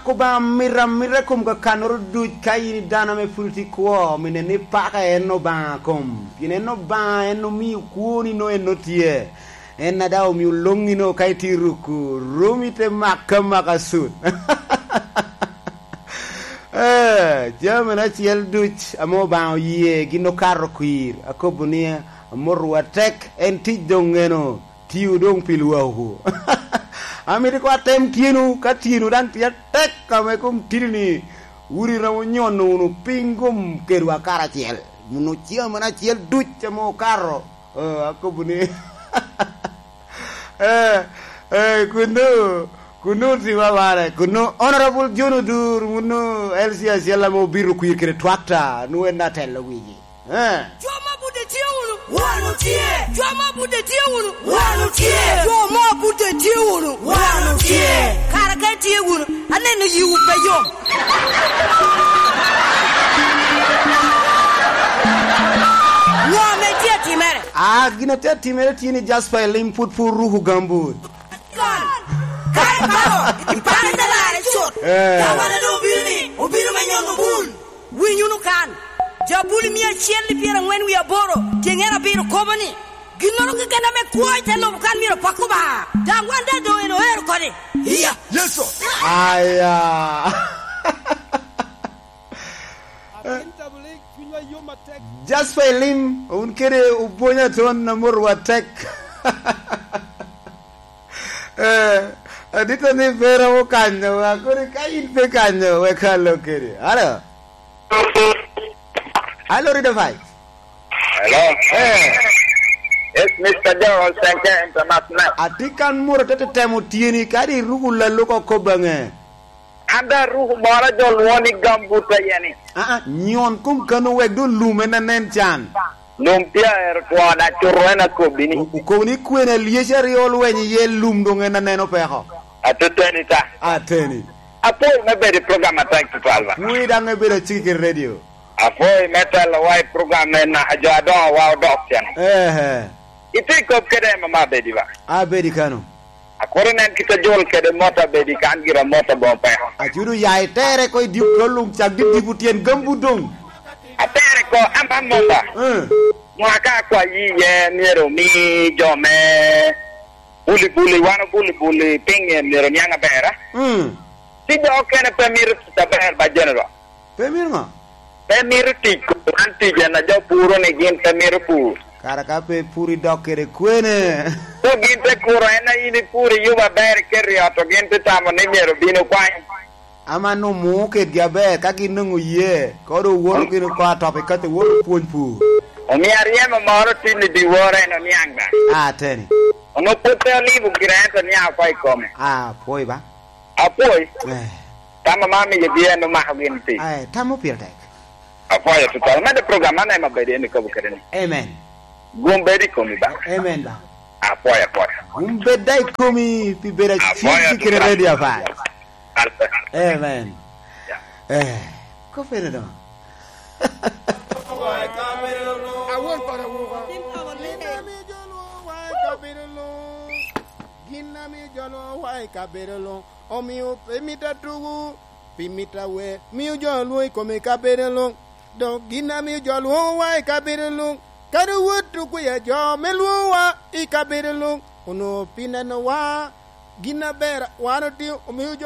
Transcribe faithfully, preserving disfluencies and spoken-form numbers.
Obaŋa mito amita i kom kakannoro duc. Ka in i dano ame pwod tye i kwo, mi nen ni paka en Obaŋa kom, pien en Obaŋa, en omio kwoni nongo en tye. En a daŋ omio loŋŋino ka itye i ruku, romi te make amaka cut. Eh, jami acel duc ame Obaŋa oye gin okato kwir, akobo ni, amotowu atek, en tic doŋ ŋeno, tio doŋ pi lwakwu. Amito ikobo atem tyenwu, ka tyenwu daŋ tye atek ame kom tidi-ni, wun iromo nyono wunu piny kom kedwa karacel. Wun ocamo acel duc ame okato. Oh, akobo ni, eh, eh, kunnu, kunnu tiwa ware, kunnu Honorable John Odur, wunu L C acel ame obito kwir kede twakta, nu en atelo wigi. Eh. Jo ma budde tye wunu, wan otye. Jo ma budde tye wunu, wan otye. Jo ma budde tye wunu, wan otye. Kara ka itye wunu, aneno yiwu pe yom. Ŋo ame tye atimere? Ah, gin a tye atimere tye ni Jasper Elim pwod pe oruko gambut. Kan, ka iparo, iparo ite larre cut. Eh. Dawara doŋ obino ni, obino me nyono bul. Winy wunu kan. Jabuli mia acel i pyerangwen wie aboro, tyeŋen abiro kobo ni, ginnoro keken ame kwo i te lobo kan myero pak Obaŋa, daŋ wan daŋ doŋ en oero kodi. Iya, Yecu. Aya. Atin Tablig, cunywa yom atek. Jasper Elim, wun kede Obonya Ton, amotowu atek. Eh, adita ni pe romo kanyo, wa kodi ka in pe kanyo, wek alo kede. Alo? Alo, Rida Pai? Hello? Eh. Yes, Mister Joe Senke International. Atye kan moro te temo tyeni, kadi iruko lalo oko baŋe. An daŋ aruko moro a jo lwoŋo ni gambut aye ni. Aa, nyon kom kano wek doŋ lum en anen can. Lum tye aero twona, cuto en akobbi ni. O-, okobo ni kwene alyeci aryo olweny iye, lum doŋ en aneno peko. Atuteni ta. Ateni. Apwoyo me bedo i program atek tutwal ba. Pwoyi daŋ me bedo aciki kede redio. Apwoyo me telowa i program me na, jo adoŋo wa odok cen. Ehe. Itye kop kede mama abedi ba. Abedi kano. Akwero nen kit a jol kede mot abedi kan gira mot aboŋo peko. Acudo ya itere ko i dip kol luŋ cak dip dip tyen gambu doŋ. Atere ko, an ba mom ba. Eh. Mwaka akwayi iye myero omi jo me buli buli, wan obuli buli piny myero niaŋ aber, a? Mm. Ci jo okene pe mito tic aber ba General. Pe mito ŋo? Pe mito tic, wan tic en a jo puro ni gin pe mito pur. Kara ka pe pur idok kede kwene? Ko gin te kuro en a in ipuro iyubo aber iketo i ot, to gin te tamo ni myero obin okwany. Aman omo kedgi aber, ka gin nwoŋo oye, ka doŋ owoto gin oko atop i kacce woto pwony pur. Omio aryemo moro tin i dyewor en oniaŋ da. Ateni. Onwoŋo pwod pe olibo gire ento niaŋ oko i kome. Apwoyo ba. Apwoyo. Eh. Tam ame amiyogi en omako gin pi. Eh, tam mo pire tek. Apwoyo tutwal. Mede program man ema bedo en ikobo kede ni. Amen. Gum bedo i komi ba. Amen ba. Apwoyo, apwoyo. Gum bed da i komi pi bedo acil kede ready apai. Amen. Eh, kopere do. Awon pa awuka. Gin ame jo lwoŋo wa i kabedo luŋ. Gin ame jo lwoŋo wa i kabedo luŋ. Omio pe mito atugo, pi mito awer, mio jo lwoŋo i kome i kabedo luŋ. Dok gin a mio jo lwoŋowa i kabedo luŋ, kadi owot okwi a jo me lwoŋowa i kabedo luŋ, onwoŋo pi nenowa gin aber wan otio, omio jo